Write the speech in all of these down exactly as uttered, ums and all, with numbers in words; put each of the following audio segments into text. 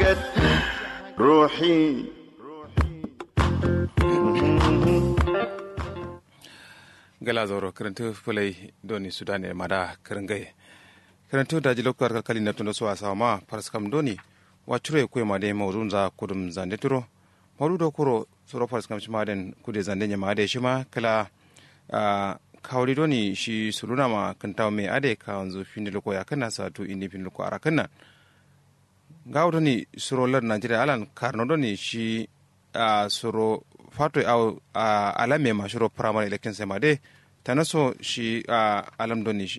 Ruhi. Gala zauro kǝrǝntǝ fǝlai doni sudane mada kǝrǝngai. Kǝrǝntǝ daji loktu har kalkali na tundo so asawa ma faraskam doni wacuro ye kuye made maudu nza kudum zande turo. Maudu do kuro suro faraskam shima den kude zande nyama ade shima kala. Kawri doni shi suluna ma kǝntawo me ade kawanzu findi luko yakǝnna satu indi findi luko arakǝnna. Ngawo doni suro lar nigeria alan karno doni shi suro fato awo alame ma shiro primary election sai ma de tanaso shi alam doni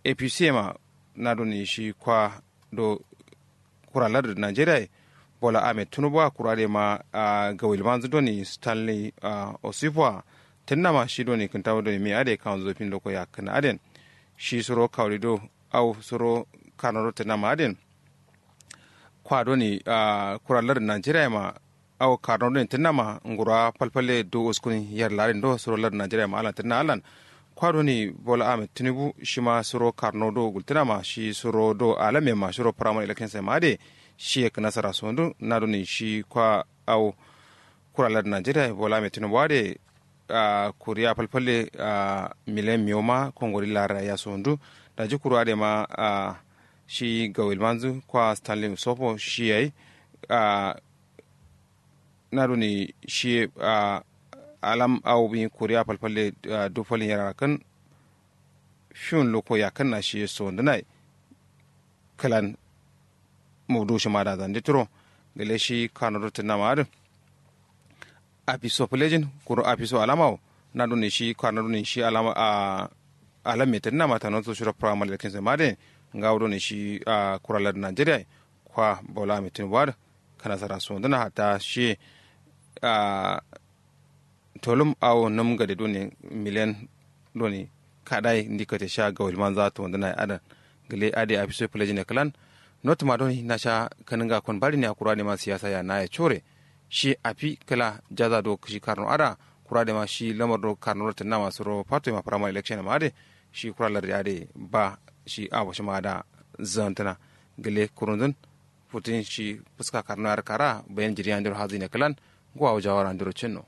apc ma na doni shi kwa do kura lar nigeria bola ahmed tunubu a kura de ma gawil manzu doni stanley osifu a tunna ma shi doni kǝntawo doni me ade kawanzu findi luko yakǝnna aden shi suro kawri do au suro karno do tunna ma aden kwa doni kura lardǝ nigeria ma au karno doni tǝnna ma ngura falfalle du uskun yer larin do suro lardǝ nigeria ma alan tǝnna alan kwa doni bola ahmed tinubu shima suro karno do gultǝna ma shi suro do alame ma shiro primary election sai ma ade shi ye kǝnasara sondu na doni shi kwa au kura lardǝ nigeria bola ahmed tinubu ade kuriya falfalle miliyan miyo ma kongori lara ya sondu daji kuru ade ma shi gawil manzu kwa stanley sofo shi yayi na doni shi alam awo bi kuriya falfalle du falin yara kan fiun luko yakǝnna shi sondunai kǝlan mudu shima da zande turo gale shi kano do tunna ma adǝ afiso fǝlejin kuru afiso alama wo na doni shi kano doni shi alama a alam me tunna ma tano so shiro primary election sai ma de ngawo doni shi kura lardǝ nigeria kwa bola ahmed tinubu adǝ kǝnasara sonduna hatta shi tolum awo num gade done miliyan done kadai ndi kate sha gawil manza tonduna ye adan gǝle ade afiso ye fǝlejine kǝlan notuma done nasha kǝnǝnga kon badine a kura dema siyasa ya naye core shi afi kǝla jaza do shi karno ada kura dema shi lamar do karno do tǝnnama suro fato yema primary election yema ade shi kura larde ade ba shi awo shima ada zantǝna gǝle kurunzǝn futin shi fuska karno yar kara bayan jiri andiro hazine kǝlan ngo awo jawara andiro cinno.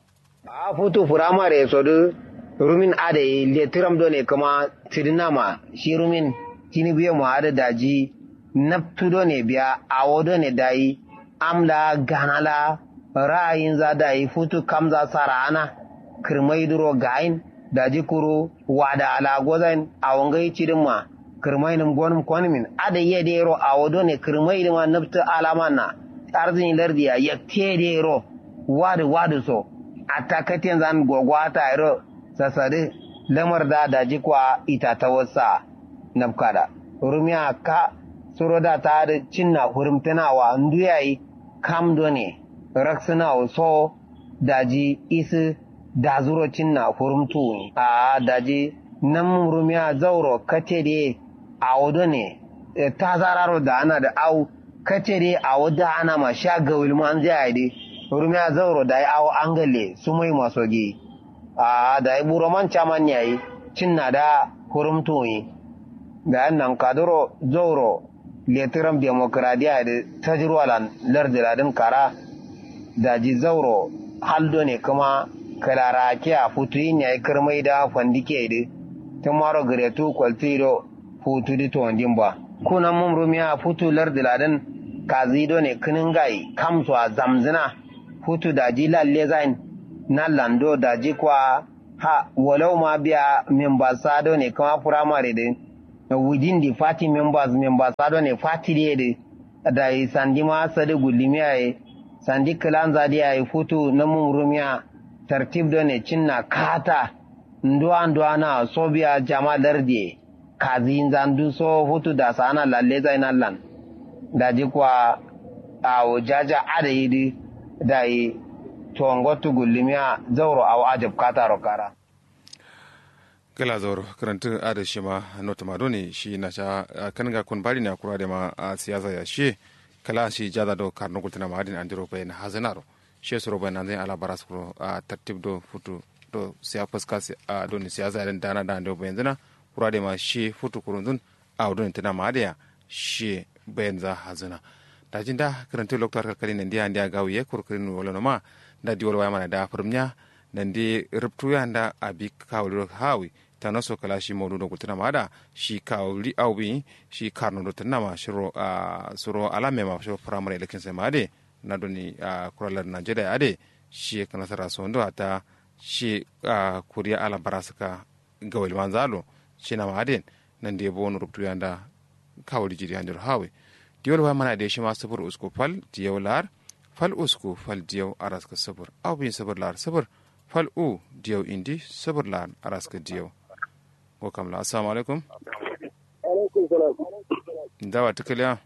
A'a futu firamare ye sodǝ rumin adai letǝram done kǝma tidǝnama shi rumin tinubu ye ma adǝ daji nabtu done biya awo done dayi am la gana la ra'ayinza dayi futu kamza sara'ana kǝrmai duro gayin daji kuru wada ala gozain awo ngai cidǝmma kǝrmainǝm gonǝm konǝmin adai ye dero awo done kǝrmai dǝma nabtǝ alamanna arzǝni lardiya yaktiye dero wadǝ wadǝ so atta katenzan gogo ata yero sasadǝ lamar da daji kwa itatawarsa nabkada rumiya ka suro da ta adǝ cinna furumtǝna wa ndu yayi kam done raksǝna wo so daji isǝ dazuro cinna furumtu wuni a'a daji nam rumiya zauro kate de awo done tazararo da'ana dǝ au kate de awo da'ana ma sha gawil manzǝ yayi dǝ rumiya zauro dayi awo angalle sumai maso gi a'a dayi buroman caman yayi cinna da furumtu wuni dayi nankaduro zauro letǝram demokradiya dǝ tajirwalan lardǝ ladǝn kara daji zauro hal done kǝma kǝlara kiya futuyin yayi kǝrmai da fandike dǝ tǝmaro gǝretu kwaltǝ yido futu dǝ tondin ba kuna mum rumiya futu lardǝ ladǝn kazi done kǝnǝngai kamso a zamzǝna futu daji lalle zain nallan do daji kwa ha walau ma biya members sa done kǝma firamare dǝ within the party members members sa done party dǝ ye dǝ dayi sandi ma sadǝ gullimiya ye sandi kǝlanza dǝ yayi futu namum rumiya tartib done cinna kata nduwa nduwa na so biya jama lardiye kaziyinza ndu so futu dasana lalle zain allan daji kwa awo jaja adai dǝ dayi tongotu gullimiya zauro awo ajab kataro kara. Gala zauro kǝrantǝ adǝ shima notuma done shi nasha kǝnǝnga kun badine a kura dema siyasa ya shiye kala shi jaza do karno gultǝna ma adin andiro bayan hazǝnaro shiye suro bayan hanzǝn ala baras kuro tartib do futu do siya fuska done siyasa ya dǝn dana da andiro bayanzǝna kura dema shiye futu kurunzǝn awo done tǝna ma adǝ ya shiye bayanza hazǝna. Daji nda kǝrǝntǝ loktu har kalkalin nandi andeya gawiye kuru kǝrin wolo noma. Nda diwol waya mana da fǝrǝmnya nandi rǝptuya nda abi kawuliro hawi. Tano so kala shi maudu do gultǝna ma ada shi kawuli awbi shi karno do tǝnna ma shiro a suro alame ma shiro firamare election sai ma ade. Na doni a kuralar najeriya ade shi ye kǝna sara sondo hatta shi a kuriya ala barasǝka gawil manza alo. Shi nama aden nandi ye bono ruptu yanda kawuli jiri yandiro hawi. Diwol waya mana de shima sufur usku fal diyaw lar fal usku fal diyaw araska sufur au bin sufur lar sufur fal u diyaw indi sufur lar araska diyaw. Ngo kamla assalamu alaikum. Alaikum salam. Dawa tukaliya.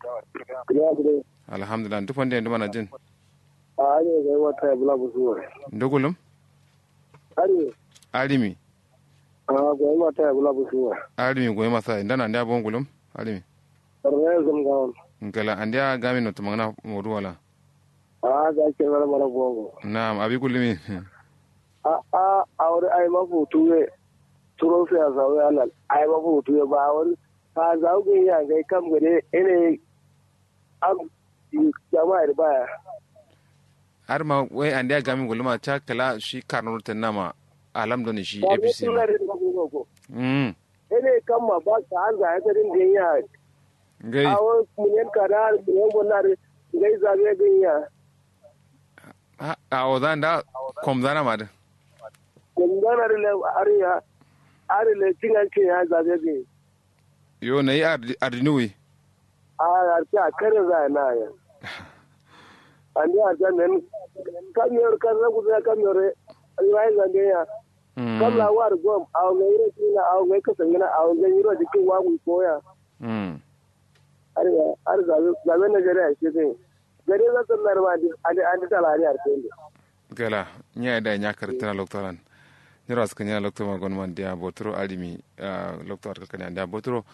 Ya bude. Alhamdulillah duk wanda yanzu mana jin. A ne ga wata ya bula busuwa. Ndugulum. Ari. Arimi. A goyi mata ya bula busuwa. Arimi goyi masa inda na ndia bon gulum. Arimi. Rayazam gawon. Ngala andia gami no tumangna modu wala. A ga kira mara bongo. Na'am abi gulumi. A a awri ai mafutu we. Turo siyasa we alal ai mafutu we ba wani. Ka zagu ya ngai kam gade ene. Am. Jama'a da baya. Har ma wai andiya gami guluma ca kala shi karno tannama alam doni shi apc ma. Mm. Ene kamma ba ka an zaya ta din ganya. Ngai. Awo munyen ka da munyen gonna da ngai zabe ganya. A o zan da kom zana ma da. Kom zana da le ariya. Ari le cingan ce ya zabe ganya. Yo nayi ardinuwi. A arti a kare zaya na ya. Andi arti a men. Kamiyar karna kusa ya kamiyar. Rayu zande ya. Kam la war gom awo ngai ro kina awo ngai kasangina awo ngai ro jikin wagu koya. Ari ya ari zabe zabe na gare a shi zai. Gare zan sallar ma andi andi talari arti. Gala nya da nya kartana loktoran. Nyiro askanya lokto ma gonman dia botoro alimi. Lokto arkakani andia botoro.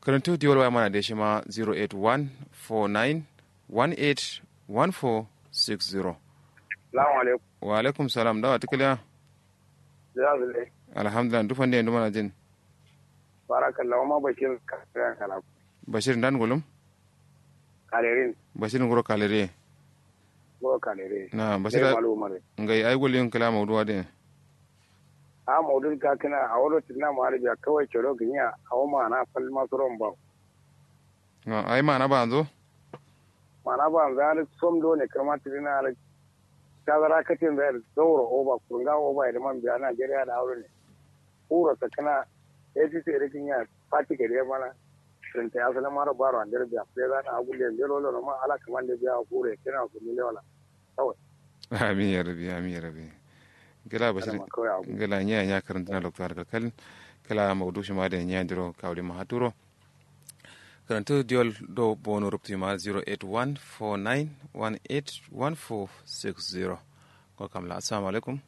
Karantu diwal waya mana de shima zero eight one four nine one eight one four six zero. Salamu alaikum. Wa alaikum salam dawa tukaliya. Zira zule. Alhamdulillah duk wanda yanzu mana jin. Barakallah wama bashir kala. Bashir ndan gulum. Kalerin. Bashir nguro kalere. Nguro kalere. Na bashir. Ngai ai gulin kala mauduwa din. A maudu ga kina a wuro tinna ma arabiya kawai coro ginya a wama na falma suron ba. Ai mana ba anzo. Mana ba anzo ya som do ne kama tinna ala. Tazara katin zai zauro oba kurunga oba ya man biya najeriya da aure ne. Kuro sakana. Apc da ginya. Fati gade mana. Rinta ya sala mara baro andere biya fule zana agulle ndero lono ma ala kamande biya kure kina ku mile wala. Kawai. Amin ya rabi amin ya rabi. Gila bashir. Gila nya nya karantana lokto har kalkal. Kala maudu shi ma da nya diro kawli ma haturo. Karantu diyol do bono ruptu ma zero eight one four nine one eight one four six zero. Ko kamla assalamu alaikum.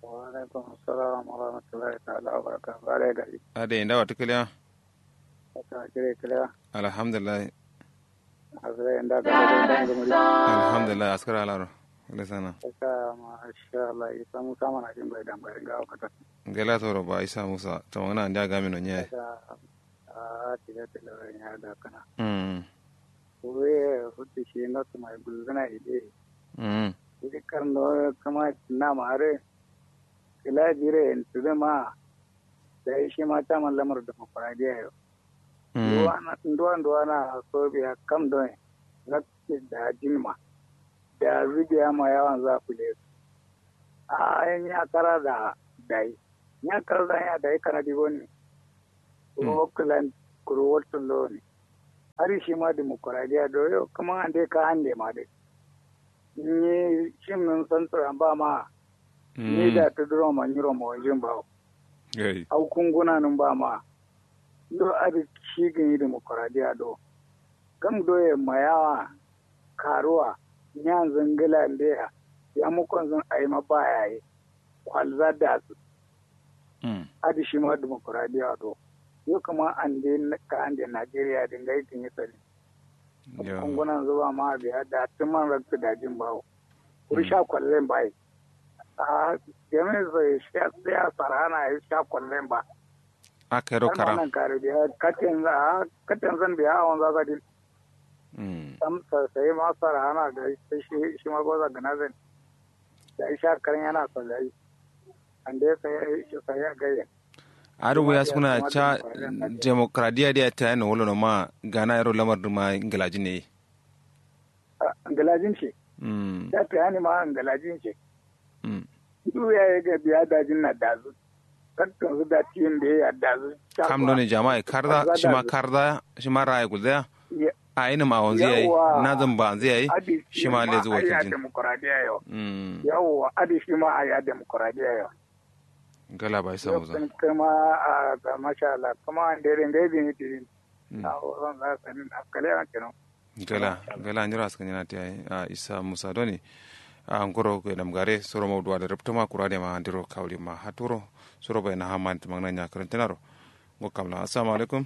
Wa alaikum assalam wa rahmatullahi ta'ala wa barakatuh. Bare gari. Ade inda wata kiliya. Wata kire kiliya. Alhamdulillah. Asre inda ka da da da muri. Alhamdulillah askara alaro. Ile sana. Ka masha Allah isa musa mana jin bai dan bai ga wata. Gela toro ba isa musa to mana anda ga mino nye. A tile tile nya da kana. Mm. Kuru ye futu shi no tuma gulzuna ide. Mm. Ide karno kama na mare. Kila jire en tude ma. Dai shi ma ta man lamar demokradiya yo. Mm. Nduwa nduwa na so biya kam don. Rakki da jin ma. Da zubiya ma yawan za ku le. A nya kara da dai. Nya kara da ya dai kana di goni. Kuro klan kuro waltun lo ne. Ari shi ma dimokuraɗiya do yo kuma ande ka ande ma de. Ni shim nun santura ba ma. Ni da tuduro ma nyiro ma wajin ba. Au kunguna nun ba ma. Do adi shi gini dimokuraɗiya do. Kam do ye mayawa karuwa. Nyan zingila ndeya. Ya mukon zin aima ba yayi. Kwalza da su. Adi shima dimokuraɗiya do. Yo kǝma ande ka ande najeriya din gai kǝnyi sani. Kungunan zuba ma biya da tǝman raktu dajin bawo. Kuru sha kwallen bai. A jami'in sai sha sarana ya sha kwallen ba. A kairo kara. Nan kare biya katin za katin zan biya a wanza sadin. Sam sayi ma sara hana ga shi ma goza gana zan. Da isha karin yana so da yi. Ande sayi sayi a gayyan. Adu wuya suna ca. Demokradiya diya ta yana wala no ma gana yaro lamar duma ngilajin ne. Ngilajin ce. Ta ta yani ma ngilajin ce. Ndu ya yi ga biya dajin na dazu. Kakkan su da tiyin da ya yi dazu. Kam doni jama'a karza shi ma karza shi ma ra'ayi gulzaya. A yi nima a wanzu yayi. Na zan ba wanzu yayi. Shi ma lezu wakilcin. Yawwa adi shi ma a ya demokradiya yau. Gala ba isa musa. Kuma a masha Allah kuma an dai ringai bin yi tirin. A wurin za ka nin askale an kenan. Gala gala nyiro askanyana ti ai a isa musa doni. A ngoro ko nam gare soro mauduwa da rubtuma kura da ma andiro kawri ma haturo. Soro bai na haman tumangna nya karantinaro. Ngo kamla assalamu alaikum.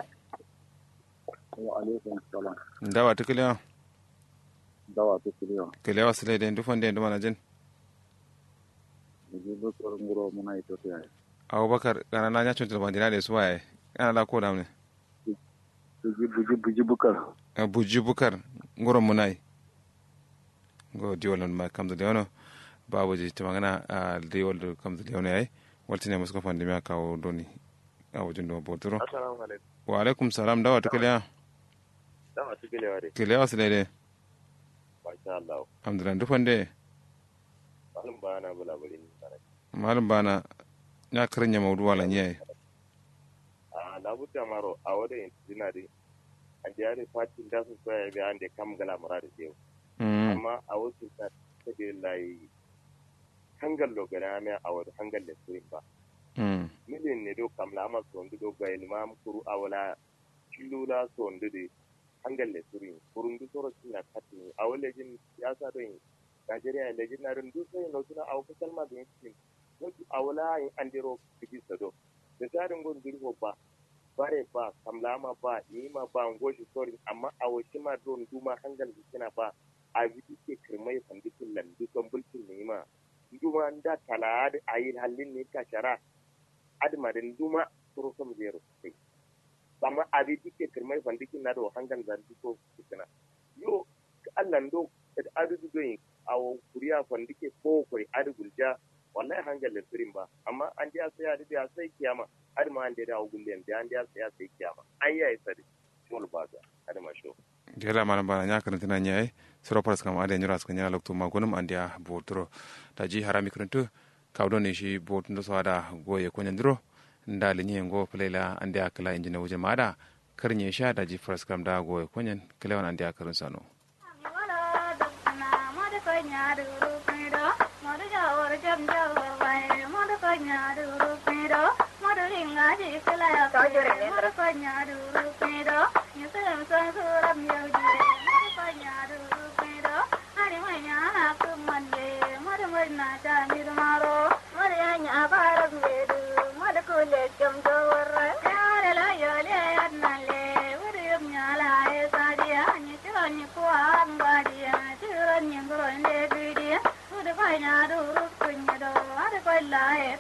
Wa alaikum salam. Ndawa tukiliya. Ndawa tukiliya. Kiliya wa sile de ndufan de nduma na jin. Buji bukar nguro muna ito tiya. Abubakar kana na nya chuntul bandina de suwaye. Kana la ko damne. Buji buji buji bukar. Buji bukar nguro munai. Ngo diwal ma kamzu de wono. Babuji tumangana a diwal kamzu de wono yayi. Waltine musko fandimiya kawo doni. Awo jindo boturo. Assalamu alaikum. Wa alaikum salam dawa tukiliya. Dawa tukiliya wade. Kiliya wasu daidai. Masha Allah. Alhamdulillah duk wande. Malum bana bula bari ni sana. Malum bana. Ya kirin ya maudu wala nyaye. A labuta maro a wada yin jina di. An da yare fatin da su soya bi an da kam gala muradi yau. Amma a wasu ta ta da layi. Hangal lo gana miya a wada hangal da sirin ba. Milin ne do kamla ama sondu do gwayin ma kuru a wala. Killu la sondu de. Hangal le surin kurundu soro cinna kattin awo lejin siyasa don. Najeriya lejin na don duk sai no suna awo kasal ma don cikin. Wasu awo la yin andero kiji sado. Da tarin gon durfo ba. Bare ba kamlama ba nima ba ngoshi sorin amma awo shima don duma hangal kina ba. Awi dikke kirmai fandikin lan duson bulkin nima. Nduma nda tala adi ayi hallin ni kashara. Adima din nduma suro som zero sai. Amma abi dikke kirmai fandikin na do hangan zan duso kina. Yo Allah ndo adu du doyin. Awo kuriya fandike ko koi adi gulja. Wallahi hangan le sirin ba amma an dia sai adi dia sai kiyama. Adima an dia da awo gullen dia an dia sai sai kiyama. An yayi sadi. Shol baga. Adima sho. Gela malam bana nya karantana nya ai. Suro paras kam ade nyura suka nya loktu ma gonum andia boturo. Taji harami karantu. Kawdo ne shi botun da so ada goye konyen duro. Nda linye ngo plela andia kala injina wuje ma ada. Karnye sha daji paras kam da goye konyen klewan andia karin sano.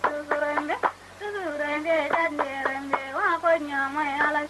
Tusurenge, tusurenge, jande rembe, wa konya mai ala.